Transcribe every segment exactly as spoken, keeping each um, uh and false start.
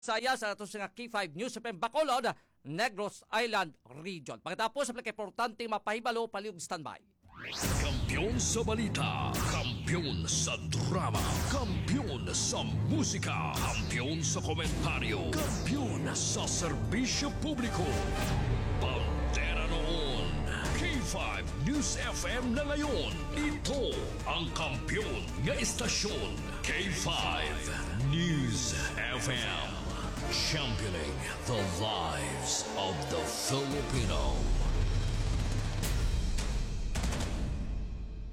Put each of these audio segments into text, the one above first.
Saya sa ato nga K five News F M Bacolod, Negros Island Region. Pagkatapos sa pinakaimportante mapahibalo, palihog standby. Kampiyon sa balita, kampiyon sa drama, kampiyon sa musika, kampiyon sa komentaryo, kampiyon sa serbisyo publiko. Bandera noon, K five News F M na ngayon. Ito ang kampiyon nga istasyon, K five News F M. Championing the lives of the Filipino.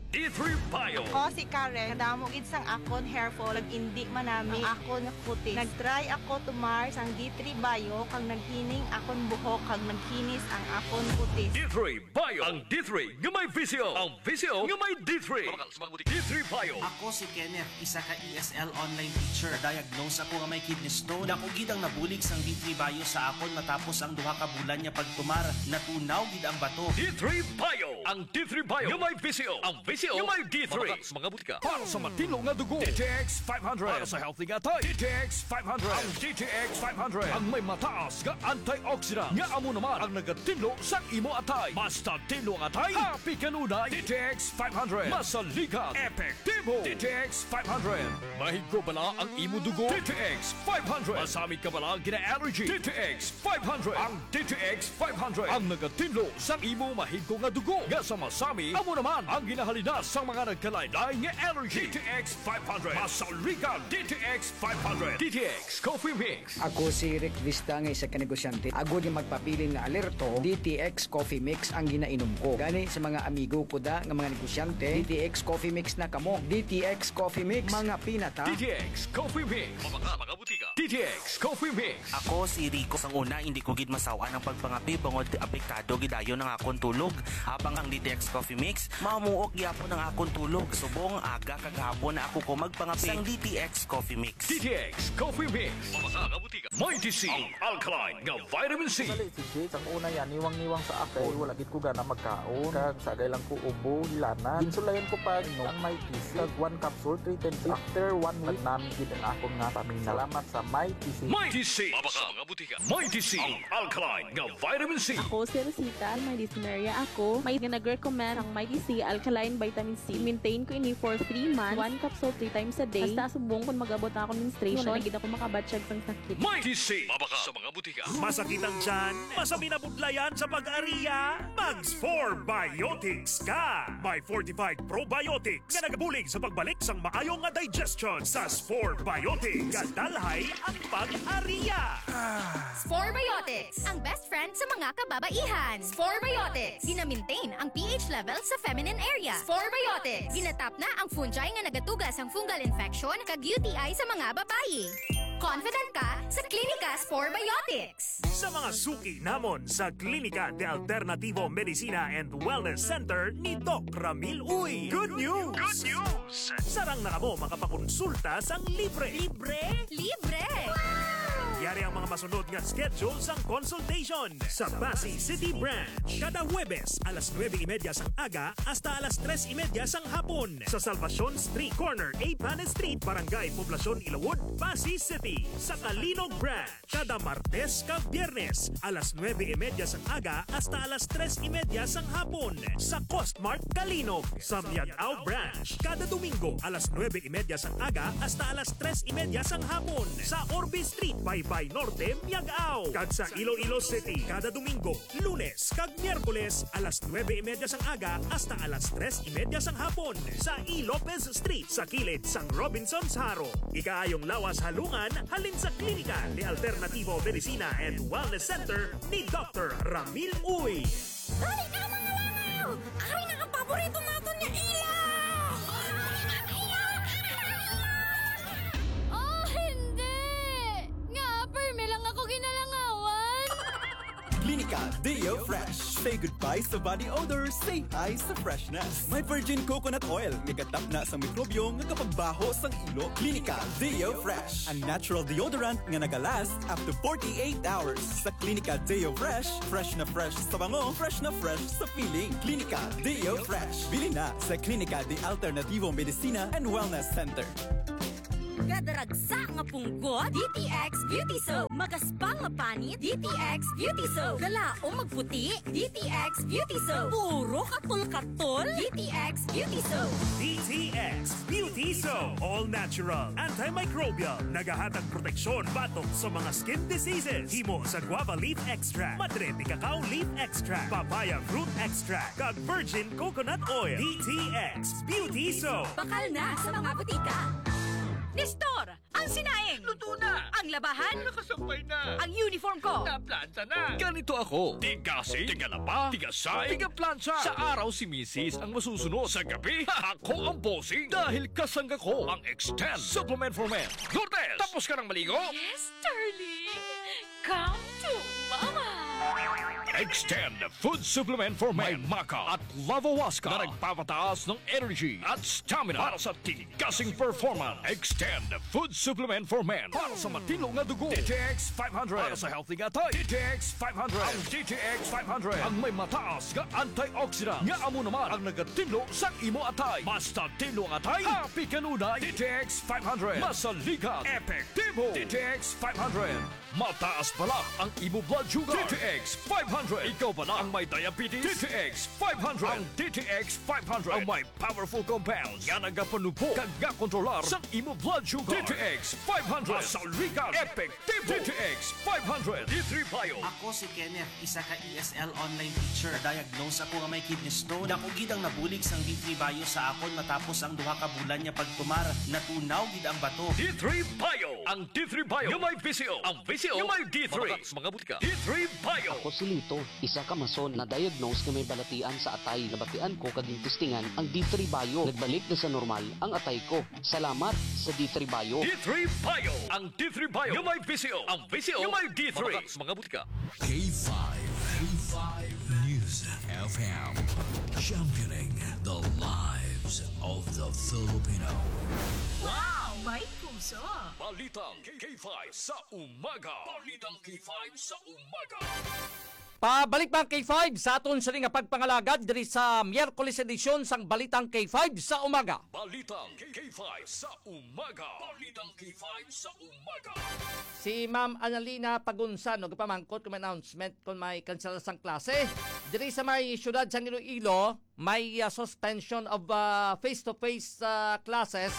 D three Bio. Ako si Karen. Kadamo gid sang akon hair fall, nag-indi man nami ang akon nga kutis. Nag-try ako tumar sang D three Bio, kag naghining akon buhok, kag naghinis ang akon kutis. D three Bio. Ang D three nga may visyo. Ang visyo nga may D three. D three Bio. Ako si Kenneth, isa ka E S L online teacher. Na-diagnose ako nga may kidney stone. Dako gid ang nabulig sang D three Bio sa akon matapos ang duha ka bulan nga pagtumar. Natunaw gid ang bato. D three Bio. Ang D three Bio nga may visyo. Ang visyo nga may D three. Mabaka sa mga butika. Para sa matinlo nga dugo, D T X five hundred. Para sa healthy nga atay, D T X five hundred. Ang D T X five hundred ang may mataas nga antioxidant nga amo naman ang nagatinlo sa imo atay. Basta tinlo ang atay, happy kanunay. D T X five hundred. Masaligan, epektibo. D T X five hundred. Mahigko bala ang imo dugo? D T X five hundred. Masami ka bala gina-allergy? D T X five hundred. Ang D T X five hundred ang nagatinlo sa imo mahigko nga dugo nga sama-sami amo naman ang ginahalina sa mga nagkalain-lain nga allergy. D T X five hundred. Masaligan, D T X five hundred. D T X Coffee Mix. Ako si Rick Vista nga isa ka negosyante. Agod nga magpabilin nga alerto, D T X Coffee Mix ang ginainom ko. Gani sa mga amigo ko da nga mga negosyante, D T X Coffee Mix na kamo. D T X Coffee Mix, mga pinata. D T X Coffee Mix. Mga, mga butika. D T X Coffee Mix. Ako si Rico. Sang una, hindi ko gid masawan ang pagpangape bangod apektado gid ayon ang akon tulog. Habang ang D T X Coffee Mix, mamuok gyapon ang akon tulog. Subong aga kag hapon na ako ko magpangape. Sang D T X Coffee Mix. D T X Coffee Mix. Mga, mga butika. Mighty C, ang alkaline nga vitamin C. Sali si Jake, ang una yan, niwang-niwang sa akay, wala gid ko gana magkaon. Kag sagay lang ko ubo, hilanat. Ginsulayan ko pa, no, ang Mighty C. Kag one capsule, three times. After one week, nagnami gid ang akon nga stamina. Salamat sa Mighty C. Mighty C. Mabaka mga butika. Mighty C, ang alkaline nga vitamin C. Ako si Rosita, may dysmenorrhea ako. May nga nag-recommend ang Mighty C alkaline vitamin C. Maintain ko ini for three months, one capsule three times a day. Hasta subong kung mag-abot na akong menstruation, wala na gid ako makabatyag sang sakit. Mighty C. Mabaka sa mga butika. Masakit ang tiyan? Masami na budlayan sa pag-ariya? Mag Spore Biotics ka! May fortified probiotics nga nagabulig sa pagbalik sang maayo nga digestion. Sa Spore Biotics, gadalhay ang pag-ariya. Spore Biotics, ang best friend sa mga kababaihan. Spore Biotics, gina-maintain ang P H level sa feminine area. Spore Biotics, ginatap na ang fungi nga nagatuga sang fungal infection kag U T I sa mga babayi. Confident ka sa Klinika Spore Biotics. Sa mga suki namon sa Klinika de Alternativo Medicina and Wellness Center ni Doc Ramil Uy. Good news! Good news! Sarang na kamo makapakonsulta sang libre. Libre? Libre! Yari ang mga masunod nga schedule sang consultation. Sa Passi City Branch, kada Huwebes, alas nuebe y media sang aga hasta alas tres y media sang hapon. Sa Salvacion Street, corner A Panes Street, Barangay Poblacion, Ilawod, Passi City. Sa Calinog Branch, kada Martes kag Biyernes, alas nuebe y media sang aga hasta alas tres y media sang hapon. Sa Costmart Calinog, sa Miag-ao Branch, kada Domingo, alas nuebe y media sang aga hasta alas tres y media sang hapon. Sa Orbe Street, Baybay Norte, Miag-ao. Kag sa Iloilo City, kada Domingo, Lunes kag Miyerkules, alas nuebe y media sang aga hasta alas tres y media sang hapon. Sa E. Lopez Street, sa kilid sang Robinsons Jaro. Ikaayong lawas halungan halin sa Klinika de Alternativo Medicina and Wellness Center ni Doctor Ramil Uy. Dali na, mga langaw! Ari na ang paborito naton nga ilaw! Oh, hindi! Nga, permi lang ako ginalangawan! Klinika Deo Fresh. Say goodbye sa body odor, say hi sa freshness. May virgin coconut oil nga gatapna sang mikrobyo nga kapagbaho sang ilo. Klinika Deo Fresh, ang natural deodorant nga nagalast up to forty-eight hours. Sa Klinika Deo Fresh, fresh na fresh sa bango, fresh na fresh sa feeling. Klinika Deo Fresh. Bili na sa Klinika de Alternativo Medicina and Wellness Center. Gadaragsa nga punggot, D T X Beauty Soap. Magaspang nga panit, D T X Beauty Soap. Galaom magputi, D T X Beauty Soap. Puro katol-katol, D T X Beauty Soap. D T X Beauty Soap. All natural, antimicrobial. Nagahatag proteksyon batok sa mga skin diseases. Himo sa guava leaf extract, madre de cacao leaf extract, papaya fruit extract, kag virgin coconut oil. D T X Beauty Soap. Bakal na sa mga butika. Nestor, ang sinaing. Luto na. Ang labahan. Nakasampay na. Ang uniform ko. Naplansa na. Ganito ako. Tigasing, tigalaba, tigasay, tigaplansa. Sa araw si misis ang masusunod. Sa gabi, ako ang bossing. Dahil kasangga ko ang Extend Supplement for Men. Lourdes, tapos ka ng maligo? Yes, darling. Come to Mama. Extend Food Supplement for Men. May maca at lavawaska na nagpapataas ng energy at stamina para sa tigasing performance. Extend Food Supplement for Men para sa matino nga dugo. D T X five hundred para sa healthy nga atay. D T X five hundred. Ang D T X five hundred ang may mataas nga antioxidant nga amo naman ang nagatinlo sa imo atay. Mas tinlo ang atay, happy kanunay. D T X five hundred. Masaligan, epektibo. D T X five hundred. Mataas bala ang imo blood sugar. D T X five hundred. Ikaw bala ang may diabetes? D T X five hundred. Ang D T X five hundred ang may powerful compounds nga nagapanubho kag gakontrolar sa imo blood sugar. D T X five hundred. Masaligan, epektibo. D T X five hundred. D three Bio. Ako si Kenneth, isa ka E S L online teacher. Diagnose ako nga may kidney stone. Dako gid ang nabulig sang D three Bio sa akon matapos ang duha ka bulan nga pagtumar. Natunaw gid ang bato. D three Bio. Ang D three Bio nga may V C O. Ang V C O nga may D three. Mabakal sa mga butika. D three Bio. Ako si Lito, isa ka mason na diagnose nga may balatian sa atay. Nabatian ko kag gintistingan ang D three Bio. Nagbalik na sa normal ang atay ko. Salamat sa D three Bio. D three Bio. Ang D three Bio nga may V C O. Ang V C O nga may D three. Mabakal sa mga butika. K five, K five News F M, championing the lives of the Filipino. Wow! May puso! Balitang K five sa umaga. Balitang K five sa umaga. Pabalik pa ang K five sa aton sini nga pagpangalagad diri sa Miyerkules edisyon sang Balitang K five sa umaga. Balitang K five sa umaga. Balitang K five sa umaga. Si Ma'am Annalena Pagunsan, no, gapamangkot kung may announcement kung may kansela sang klase. Diri sa may siyudad sang Iloilo, may, ah, suspension of, ah, face-to-face, ah, classes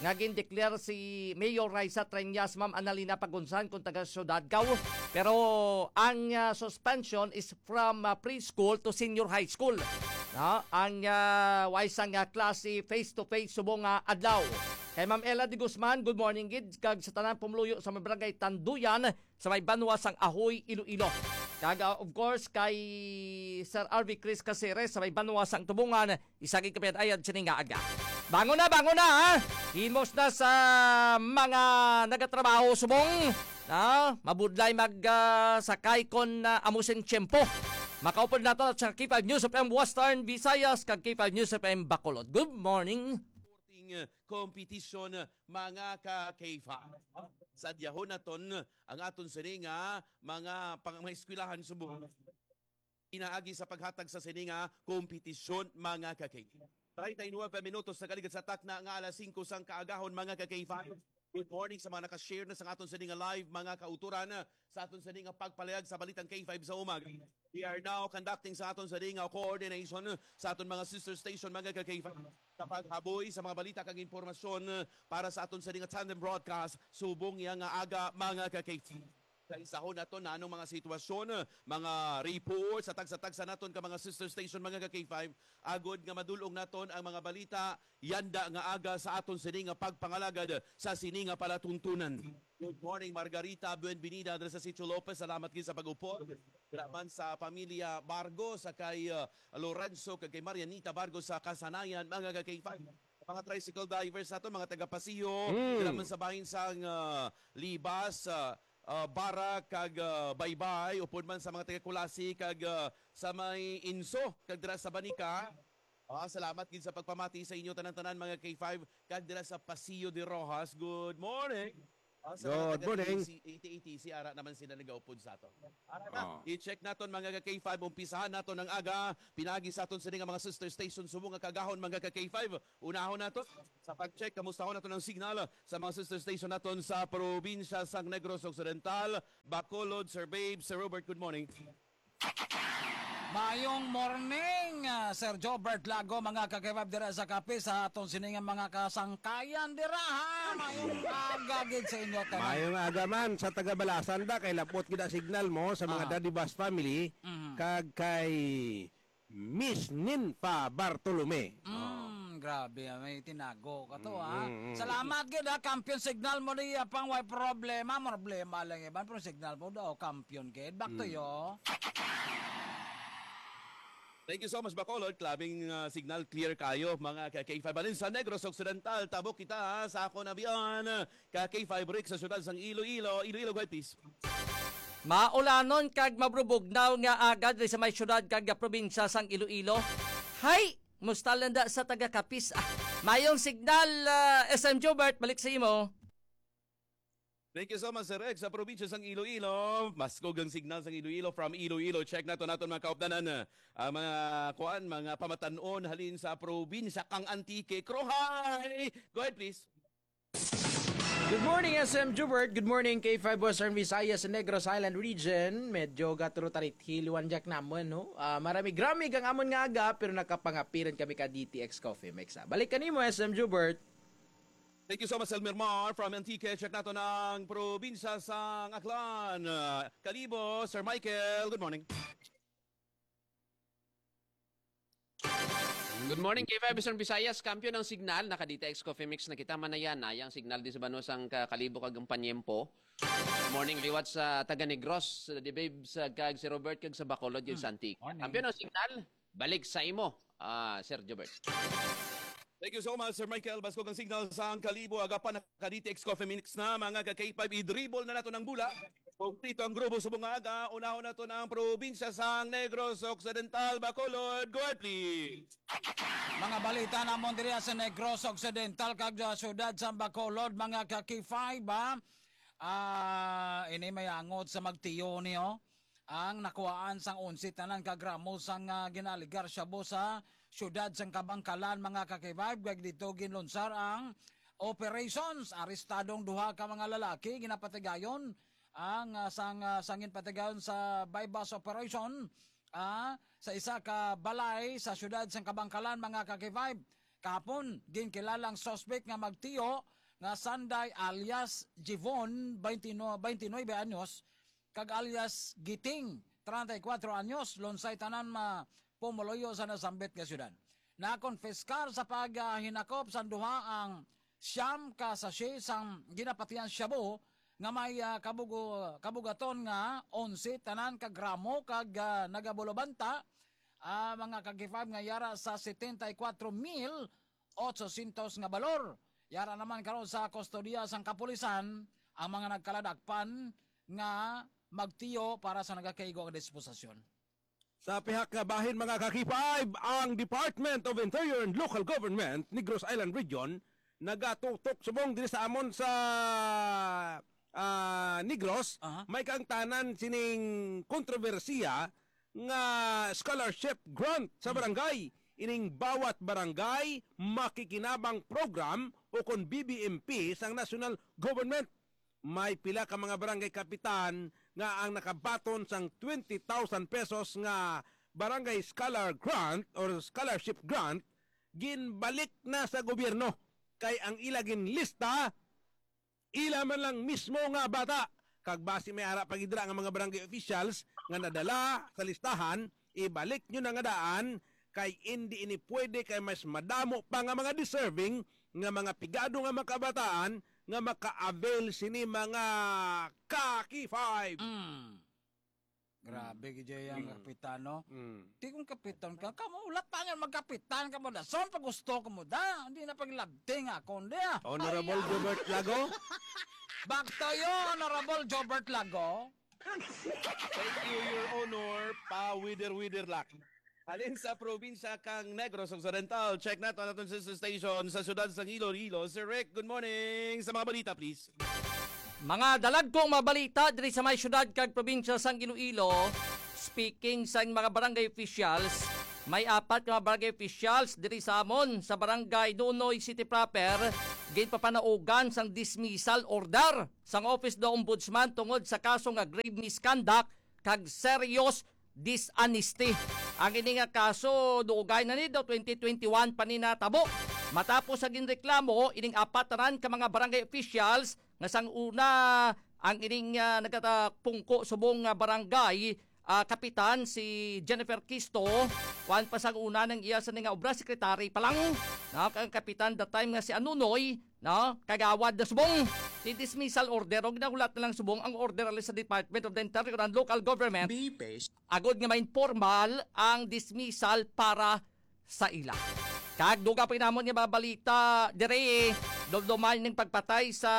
nga gindeclare si Mayor Raisa Treñas, Ma'am Annalena Pagunsan, kung taga Ciudad Gao. Pero ang, ah, suspension is from, ah, preschool to senior high school. No? Ang, ah, way sang, ah, klase face-to-face subong nga adlaw. Kay Ma'am Ella de Guzman, good morning gid, kag sa tanan pumuluyo sa may barangay Tanduyan, sa may banwa sang Ahoy, Iloilo. Kag, ah, of course, kay Sir R V Chris Caceres sa may banwa sang Tubungan, isa gid ka pinatayad sini nga aga. Bangon na, bangon na, ha? Himos na sa mga nagatrabaho subong, ha? Mabudlay mag, ah, sakay kon, ah, amo sing tiyempo. Makaupod nato sa K five News F M Western Visayas kag K five News F M Bacolod. Good morning. Sporting, uh, competition, uh, mga ka K five. Sa diyahon naton, uh, ang aton sini nga mga pang-, mga eskwelahan subong pinaagi sa paghatag sa sini nga kompetisyon, mga ka K five. Treinta y nueve minutos na kaligad sa takna nga alas singko sang kaagahon, mga ka K five. Good morning sa mga naka-share na sa aton sini nga live, mga kauturan, uh, sa aton sini nga pagpalayag sa Balitang K five sa umaga. We are now conducting sa aton sini nga coordination sa aton mga sister station, mga ka K five, sa paghaboy sa mga balita kag impormasyon para sa aton sini nga tandem broadcast subong niya nga aga, mga ka K five. Sa isahon naton na anong mga sitwasyon, mga reports sa tagsa-tagsa naton ka mga sister station, mga ka K five, agod nga madul-ong naton ang mga balita yanda nga aga sa aton sini nga pagpangalagad sa sini nga palatuntunan. Good morning, Margarita. Buenvenida diri sa Sitio Lopez. Salamat gid sa pag-upod. Dira man sa pamilya Bargo, sa kay, uh, Lorenzo, kag kay Marianita Bargo sa Kasanayan, mga ka K five. Mga tricycle drivers nato, mga taga Paseo, Mm. dira man sa bahin sang, uh, Libas, uh, uh, Barak, kag, uh, Baybay, upod man sa mga taga Culasi, kag, uh, sa may Inso, kag dira sa Banica. Ah, salamat gid sa pagpamati sa inyo tanan-tanan, mga K five, kag dira sa Paseo de Rojas. Good morning. Oh, sa mga Good taga morning. A T C, A T C, ara naman sila nagaupod sa aton. Ara na, Oh. i-check naton, mga ka K five, umpisahan naton ang aga. Pinagi sa aton sini nga mga sister station subong nga kaagahon, mga ka K five. Unahon nato sa pag-check, kamustahon nato ang signal sa mga sister station naton sa probinsya sang Negros Occidental, Bacolod. Sir Babe, Sir Robert, good morning. Mayong morning, ah, Sir Jobert Lago, mga ka-K five dira sa Capiz, sa aton sini nga mga kasangkayan dira, ha. Mayong aga gid sa inyo tanan. Mayong aga man sa taga Balasan da, kay lapot gid ang signal mo sa mga Ah. Daddy Bus family, Mhm. kag kay Miss Ninfa Bartolome. Mm, grabe, ah, may tinago ka to, ah. Mm, mm, mm. Salamat gid, ah, kampiyon signal mo diya pang way problema, problema lang iban, pero signal mo daw, kampiyon gid. Back to Mm. you. Thank you so much, Bacolod. Klabing, ah, signal, clear kayo, mga ka K five. Alin sa Negros Occidental, tabok kita, ha, sa ako na biyan, ka K five Rick sa siyudad sang Iloilo. Iloilo, go ahead, please. Maulanon kag mabrubugnaw nga aga diri sa may siyudad kag probinsya sang Iloilo. Hay! Musta lang da sa taga Capiz. Ah, mayong signal, ah, S M Jobert, balik sa imo. Thank you so much, Sir Rex. Sa probinsya sang Iloilo, maskog ang signal sang Iloilo. From Iloilo, check nato naton mga kaupdanan, ah, ang mga kuan, mga pamatanon halin sa probinsya kang Antique. Kruhay! Go ahead, please. Good morning, S M Jubert. Good morning, K five Western Visayas, Negros Island Region. Medyo gatro tarit hiliwan jak naman, no? Ah, maramig-ramig ang amon nga aga, pero nakapangapiran kami ka D T X Coffee Mix, ah. Balik kanimo, S M Jubert. Thank you so much, Elmer Mar from Antique. Check nato ang probinsya sang Aklan. Ah, Kalibo, Sir Michael, good morning. Good morning, K five Eastern Visayas. Kampiyon ang signal. Naka D T X Coffee Mix na kita. Manayan na yang signal di sa banwa sang ka-, Kalibo kag ang Panyempo. Morning liwat sa taga Negros, sa Dibib, sa kag si Robert kag sa Bacolod, yun, Hmm. sa Antique. Morning. Kampiyon ang signal. Balik sa imo, ah, Sir Jobert. Thank you so much, Sir Michael. Baskog ang signal sa ang Kalibo. Aga pa, naka D T X Coffee Mix na, mga ka K five. I-dribble na nato ng bula. Kumplito ang grupo subong nga aga. Unahon nato na ang probinsya sang Negros Occidental, Bacolod. Go ahead, please. Mga balita namon diri sa Negros Occidental kag sa siyudad sa Bacolod, mga ka K five, ha? Ah, ini may angot sa magtiyo niyo. Ang nakuhaan sang onse tanan ka gramo sang, ah, ginaaligar shabu sa siyudad sang Kabangkalan, mga ka K five, kag dito ginlunsar ang operations. Arestadong duha ka mga lalaki ginapatigayon ang, ah, sang, ah, sangin patigayon sa buy-bust operation, ah, sa isa ka balay sa siyudad sang Kabangkalan, mga ka K five. Kahapon, ginkilala ang suspect nga magtiyo nga Sanday alias Jivon, twenty-nine, twenty-nine anyos, kag alias Giting, treinta y cuatro anyos, lunsay tanan ma-, pumuluyo sa nasambit nga syudad. Nakonfiskar sa paghinakop sang duha ang siyam ka sachet sang ginapatihan shabu nga may, ah, kabugo-, kabugaton nga onse tanan ka gramo kag, ah, nagabulobanta, ah, mga ka K five, nga yara sa setenta y cuatro mil ochocientos nga balor. Yara naman karon sa kustodiya sang kapulisan ang mga nagkaladakpan nga magtiyo para sa nagakaigo nga disposisyon. Sa pihak nga bahin, mga ka K five, ang Department of Interior and Local Government, Negros Island Region, nagatutok subong diri sa amon sa, ah, Negros. Aha. May kaangtanan sining kontrobersiya nga scholarship grant sa Hmm. barangay. Ining Bawat Barangay Makikinabang Program o kon B B M P sang national government. May pila ka mga barangay kapitan nga ang nakabaton sang twenty thousand pesos nga barangay scholar grant or scholarship grant, ginbalik na sa gobyerno, kay ang ila ginlista, ila man lang mismo nga bata. Kag basi may ara pa gid dira nga mga barangay officials nga nadala sa listahan, ibalik nyo na nga daan, kay indi ini pwede, kay mas madamo pa nga mga deserving nga mga pigado nga mga kabataan nga maka-avail sini, mga ka K five. Mm. Grabe, Mm. gid ang Mm. kapitan, no? Mm. Di kung kapitan ka, kamo, wala pa nga magkapitan ka mo, dason pa gusto ko mo, da. Hindi na paglabting ako, hindi, ah. Honorable Ay, ah. Jobert Lago? Back to you, Honorable Jobert Lago. Thank you, Your Honor. Pa-wither-wither lang. Halin sa probinsya kang Negros Occidental, check nato ang aton sister station sa siyudad sang Iloilo. Sir Rick, good morning. Sa mga balita, please. Mga dalagkong mga balita diri sa may syudad kag probinsya sang Iloilo. Speaking sa mga barangay officials, may apat ka mga barangay officials diri sa amon sa barangay Nunoy City proper ginpapanaugan sang dismissal order sang Office of the Ombudsman tungod sa kaso nga grave misconduct kag serious dishonesty. Ang ini nga kaso, dugay na ni daw twenty twenty-one pa ni natabo. Matapos sa ginreklamo ining apat tanan ka mga barangay officials nga sang una ang ining, ah, nagkatapungko subong nga barangay, ah, kapitan si Jennifer Kisto, kuan pa sang una nang iya sa nga obra, secretary pa lang, no? Ang kapitan that time nga si Anunoy, no? Kagawad na subong. Di dismissal order, o ginahulat na lang subong ang order ali sa Department of the Interior and Local Government. Be patient. Agod nga ma-informal ang dismissal para sa ila. Kag dugang pa namon nga mga balita diri, dumduman ning pagpatay sa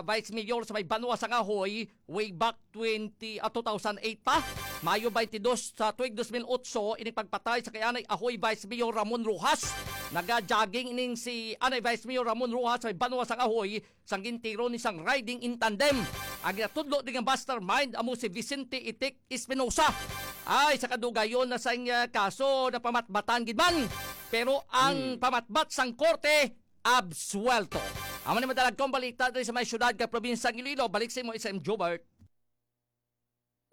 Vice Mayor sa may Banwa sang Ahoy way back twenty, ah, two thousand eight pa. Mayo twenty-two sa tuig dos mil otso, ining pagpatay sa kay anay Ahoy Vice Mayor Ramon Rojas. Naga-jogging ining si anay Vice Mayor Ramon Rojas sa may Banwa sang Ahoy sang gintiro ni sang riding in tandem. Ang ginatudlo ni nga mastermind amo si Vicente Itik Espinosa. Ay, sa kadugayon na sang, ah, kaso, napamatbatan gid man. Pero ang Hmm. pamatbat sang korte, absuwelto. Amo ni madalagkong balita diri sa may syudad kag probinsya sang Iloilo. Balik sa imo, S M Jobert.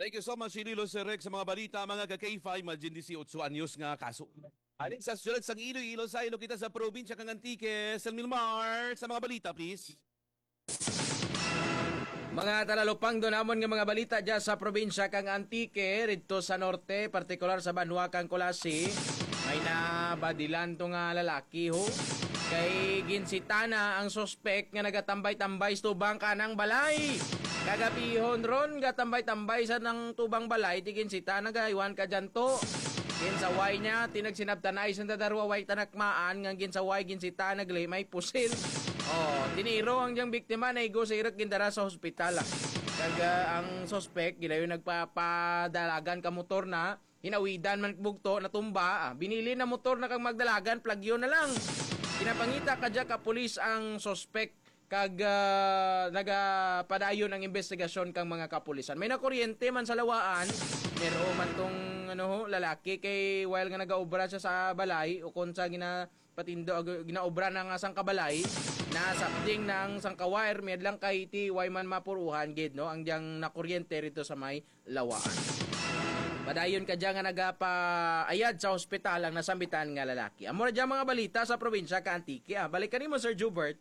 Thank you so much, Iloilo Sir Rex, sa mga balita, mga ka K five, imagine, dieciocho anyos nga kaso. Aning sa siyudad sang Iloilo, sa Iloilo kita sa probinsya kang Antique, Sir Milmar, sa mga balita, please. Mga talalupangdo namon nga mga balita dya sa probinsya kang Antique, didto sa norte, partikular sa banwa kang Culasi, may nabadilan to nga lalaki, ho. Kay ginsitana ang suspek nga nagatambay-tambay sa tubang kanang balay. Kagabihon ron, gatambay-tambay sa nang tubang balay, di ginsita, nagaywan ka dyan to. Ginsaway niya, tinagsinabtanay sa dadarwa, way tanakmaan, nga ginsaway, ginsita, nagli, may pusil. Oh, tiniro ang diyang biktima, naigo sa irok, gindara sa hospital, ah. Kag, ah, ang suspek, gilayo nagpapadalagan ka motor na, hinawidan man bugto, natumba, ah. Binili na motor na kag magdalagan, plagyo na lang. Ginapangita ka dya ka pulis ang suspek, kag, ah, nagapadayon ang investigasyon kang mga kapulisan. May nakuryente man sa lawaan, pero man tong, ano ho, lalaki kay while nga nagaobra siya sa balay, ukon sa gina-, patindo, ag-, ginaobra na nga sang kabalay, nasapding na ang sang ka-wire, may adlang kay ti, way man mapuruhan gid, no, ang diyang nakuryente rito sa may lawaan. Padayon ka dyan nga nagapaayad sa hospital ang nasambitan nga lalaki. Amo na dyan mga balita sa probinsya ka Antique. Ah, balik kanimo, Sir Jubert.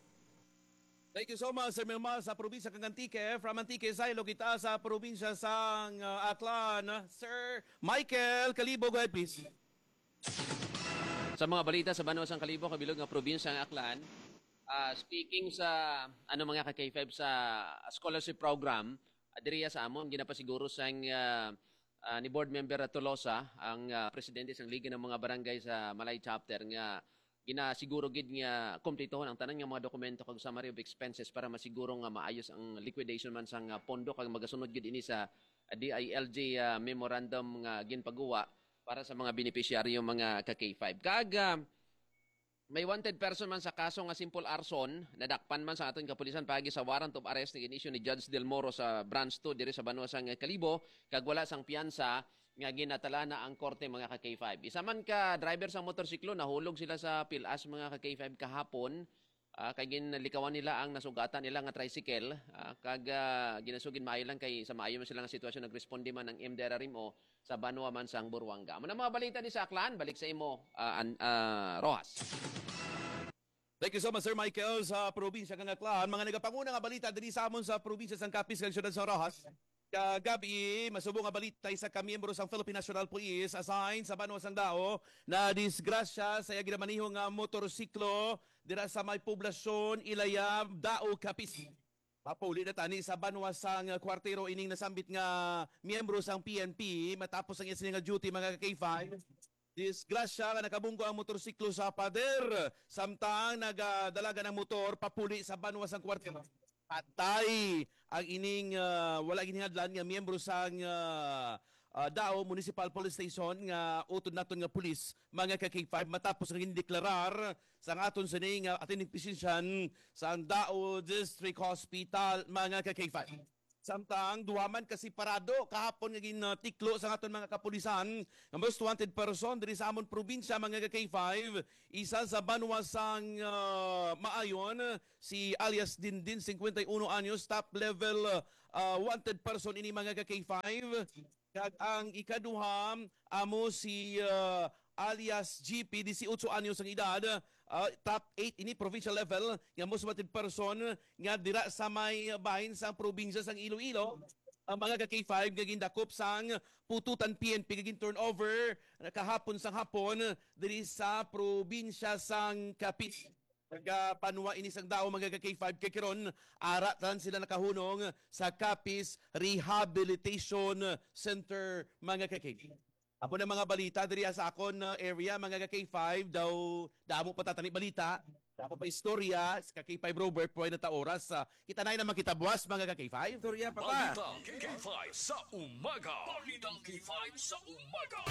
Thank you so much, Sir Milmar, sa probinsya kang Antique. From Antique, saylo kita sa probinsya sang, uh, Aklan. Sir Michael Kalibo, go ahead, please. Sa mga balita sa banwa sang Kalibo, kabilog nga probinsya nga Aklan, ah, speaking sa, ano, mga ka K five, sa scholarship program, ah, diriya sa amon, ginapasiguro sang, ah, ah, ni Board Member Tolosa, ang, ah, presidente sang Liga ng mga Barangay sa Malay Chapter, nga ginasiguro gid nga kumplituhon ang tanan nga mga dokumento kag summary of expenses para masiguro nga maayos ang liquidation man sang, ah, pondo kag magasunod gid ini sa, ah, D I L G, ah, memorandum nga ginpaguwa para sa mga benepisyaryo, mga ka K five. Kag, ah, may wanted person man sa kaso nga simple arson, nadakpan man sa aton kapulisan paagi sa warrant of arrest nga gin-issue ni Judge Del Moro sa Branch two diri sa banwa sang Kalibo, kag wala sang piyansa nga ginatala na ang korte, mga ka K five. Isa man ka driver sa motorsiklo, nahulog sila sa Pilas, mga ka K five, kahapon. Ah, kay ginlikawan nila ang nasugatan nila nga tricycle, ah, kag, ah, ginasugid maayo lang kay sa maayo man sila nga sitwasyon, nagresponde man ang M D R R M O sa banwa man sang Buruanga. Amo na mga balita ni sa Aklan, balik sa imo, ah, an-, ah, Rojas. Thank you so much, Sir Michael, sa probinsya kang Aklan. Mga nagapanguna nga balita diri sa amon sa probinsya sang Capiz kag siyudad sa Rojas. Kagabi, masubo nga balita, isa ka miyembro sang Philippine National Police assigned sa banwa sang Dao na disgrasya sa iya ginamaniho nga motorsiklo dira sa may poblasyon Ilaya, Dao, Capiz. Mapuli na tani sa banwa sang Cuartero ining nasambit nga miyembro sang P N P matapos ang iya sini nga duty, mga ka K five. Disgrasya nga nakabunggo ang motorsiklo sa pader, samtang nagadalagan ang motor papuli sa banwa sang Cuartero. Patay ang ining, ah, wala ginhadlan nga miyembro sang, ah, ah, Dao Municipal Police Station nga utod naton nga pulis, mga ka K five, matapos nga gindeklarar sa aton sini nga attending physician sa Dao District Hospital, mga ka K five. Samtang duha man ka separado kahapon nga gintiklo sa aton mga kapulisan nga most wanted person diri sa amon probinsya, mga ka K five, isa sa banwa sang, ah, Maayon, si alias Dindin, cincuenta y uno anyos, top level, ah, wanted person ini, mga ka K five. Kag ang ikaduha, amo si, ah, alias G P, dieciocho anyos ang edad, ah, top eight ini provincial level nga most wanted person nga dira sa may bahin sang probinsya sang Iloilo. Ang mga ka K five nga gindakop sang Pututan P N P nga gin-turnover kahapon sang hapon diri sa probinsya sang Capiz. Nagapanwa ini sang Dao, mga ka K five, kay karon ara tanan sila nakahunong sa Capiz Rehabilitation Center, mga ka K five. Amo na mga balita diri sa akon, uh, area, mga ka K five. Daw damo pa tatani balita, damo pa istorya sa ka K five Robert, pwede na ta oras. Uh, kita na naman kita buwas, mga ka K five. Istorya pa ba? Balitang K five sa umaga. Balitang K five sa umaga.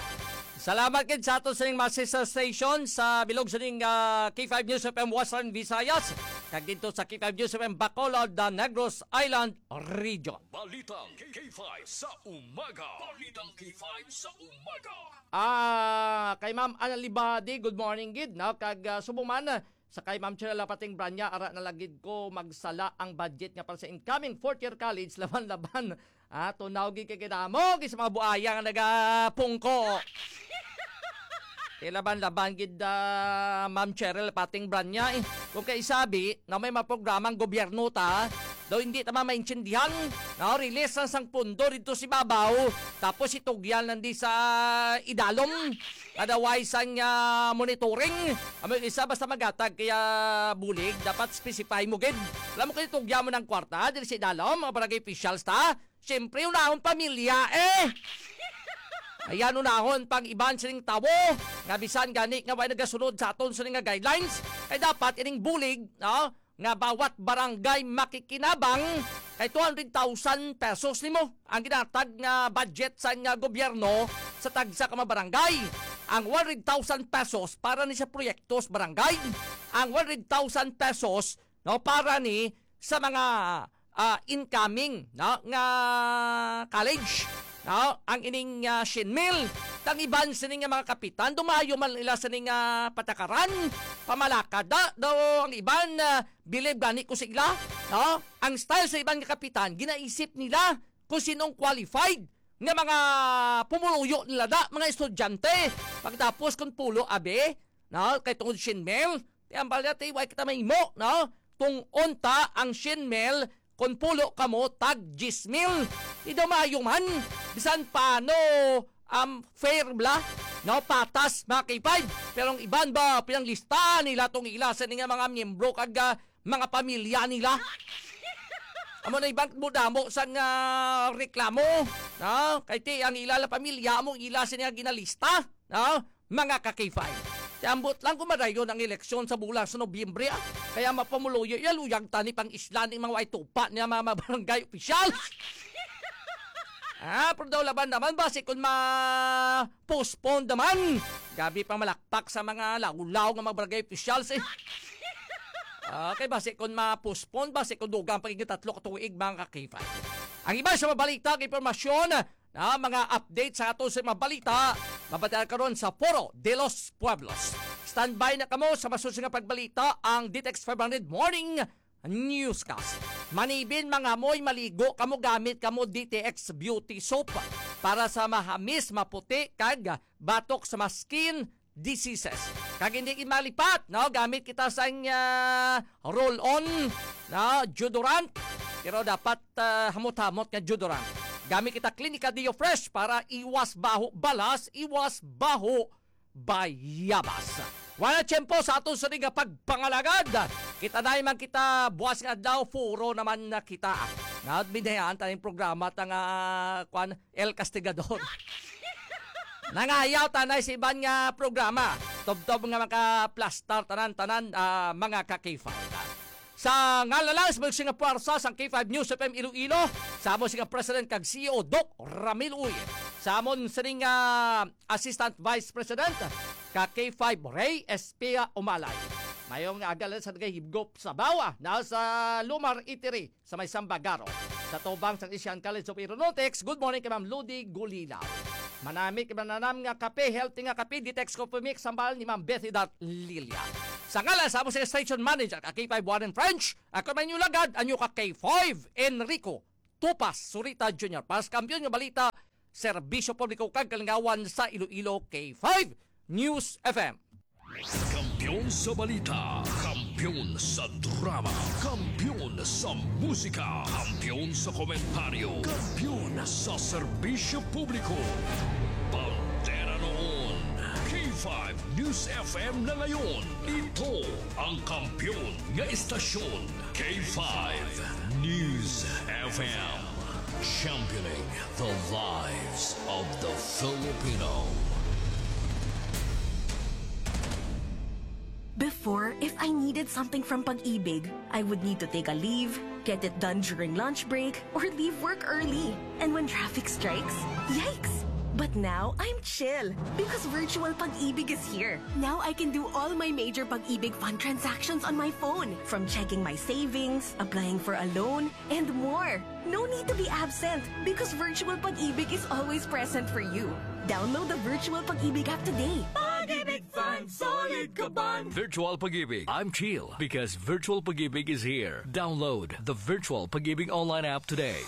Salamat gid sa ato sining mga sister station sa bilog sining, ah, K five News F M Western Visayas, kag dito sa K five News F M Bacolod, the Negros Island Region. Balitang K five sa umaga. Balitang K five sa umaga. Ah, kay Ma'am Analibadi, good morning gid, no? Kag, ah, subong man, ah, sa kay Ma'am Chirela Pating Branya, ara na lagid ko magsala ang budget nga para sa incoming fourth year college, laban-laban. Ah, tunaw gid kay kinamo gid sa mga buaya nga nagapungko. Ilaban-laban gid, ah, Ma'am Cheryl Pating Branya, eh. Kung kay sabi na may mga programang gobyerno ta, daw hindi ta maintindihan, no? Release lang sang pundo dito si babaw, tapos itugyan lang di sa idalom. Otherwise, ang, ah, monitoring, amo yung isa, basta magatag kaya bulig, dapat specify mo gid. Alam mo, kaya itugyan mo ng kwarta, dili sa idalom, mga barangay officials ta. Siyempre, unahon pamilya, eh. Ayan, unahon pang iban sining tawo nga bisan gani nga way nagasunod sa aton sini nga guidelines, ay dapat ining bulig, no, nga bawat barangay makikinabang kay two hundred thousand pesos nimo ang ginatag nga budget sa nga gobyerno sa tagsa ka mga barangay. Ang one hundred thousand pesos para ni sa proyektos barangay. Ang one hundred thousand pesos, no, para ni sa mga, ah, incoming, no, nga college, no, ang ining, ah, shin mil. Kang iban sini nga mga kapitan, dumayo man ila sini nga patakaran, pamalakad da, daw ang iban, ah, bilib gani ko sa ila, no? Ang style sa iban nga kapitan, ginaisip nila kung sinong qualified nga mga pumuluyo nila da, mga estudyante. Pagtapos kung pulo, abi, no? Kay tungod shin mil, ti ang balya, ti, way kita mahimo, no? Tungod ta ang shin mil, kung pulo kamo, tag diyes mil. Di daw maayo man, bisan paano, um, fair bla, no? Patas, mga K five. Pero ang iban ba, pinanglista nila tong ila sa nga mga miyembro kag, ah, mga pamilya nila. Amo na iban mo damo sang, ah, reklamo, no? Kay ti ang ila la pamilya mo ila sini nga ginalista, no? Mga ka K five. Ti ambot lang kung madayon ang eleksyon sa bulan sa Nobyembre, ah. Kaya mapamuloyo, ya luyag tani pang isla ni mga way tupa niya mga, mga barangay officials. Ah, pero daw laban naman ba si kung ma-postpone naman? Gabi pang malakpak sa mga lawlaw nga mga barangay officials, eh. Okay, basi kung ma-postpone, basi kung dugang pa gid tatlo ka tuig, mga ka-K five. Ang iba sa mabalita, ang impormasyon, na mga update sa ato sa mga balita, mabatian karon sa Foro de los Pueblos. Standby na kamo sa masusunod nga pagbalita, ang D T X five hundred Morning Newscast. Manibin, mangamoy, maligo kamo, gamit kamo D T X Beauty Soap para sa mahamis, maputi, kag batok sa mga skin diseases. Kag hindi gid malipat, no? Gamit kita sang, ah, roll-on, no? Deodorant. Pero dapat, ah, hamot-hamot nga deodorant. Gamit kita Clinica Deo Fresh para iwas baho balas, iwas baho bayabas. Wala tiyempo sa aton sa nga pagpangalagad. Kita na man kita buwas nga adlaw, furo naman na kita. Naat binayaan tayong programa ta nga, kwan, El Castigador. Nangayaw tanay sa iban nga programa. Tubtob nga makaplastar tanan-tanan, ah, mga ka-K five. Sa ngalan lang sa mga nga puwersa sang K five News F M Iloilo, sa amo sing President kag C E O, Doc Ramil Uy. Sa amon sining, ah, Assistant Vice President ka K five, Ray Espia Umalay. Mayong aga lang sa nagahibgop sa bawa na sa Lumar Itiri sa may Sambagaro. Sa tubang sang Asian College of Aeronautics, good morning kay Ma'am Ludi Gulilaw. Manami kay mananam nga kape, healthy nga kape, Ditex Coffee Mix, sambal ni Ma'am Bethy Dot Lilia. Sa ngalan sa amo sa station manager ka K five Warren French, ako man yung lagad, anyo ka K five Enrico Tupas Surita Junior. Para sa Kampiyon nga Balita, Serbisyo Publiko kag Kalingawan sa Iloilo, K five News F M. Kampiyon sa balita, kampiyon sa drama, kampiyon sa musika, kampiyon sa komentaryo, kampiyon sa serbisyo publiko. Bandera noon, K five News F M na ngayon. Ito ang kampiyon nga istasyon, K five News F M. Championing the lives of the Filipino. Before, if I needed something from Pag-ibig, I would need to take a leave, get it done during lunch break, or leave work early. And when traffic strikes, yikes! But now, I'm chill because Virtual Pag-ibig is here. Now I can do all my major Pag-ibig Fund transactions on my phone, from checking my savings, applying for a loan, and more. No need to be absent because Virtual Pag-ibig is always present for you. Download the Virtual Pag-ibig app today. Pag-ibig Fund, solid ka ban! Virtual Pag-ibig, I'm chill because Virtual Pag-ibig is here. Download the Virtual Pag-ibig online app today.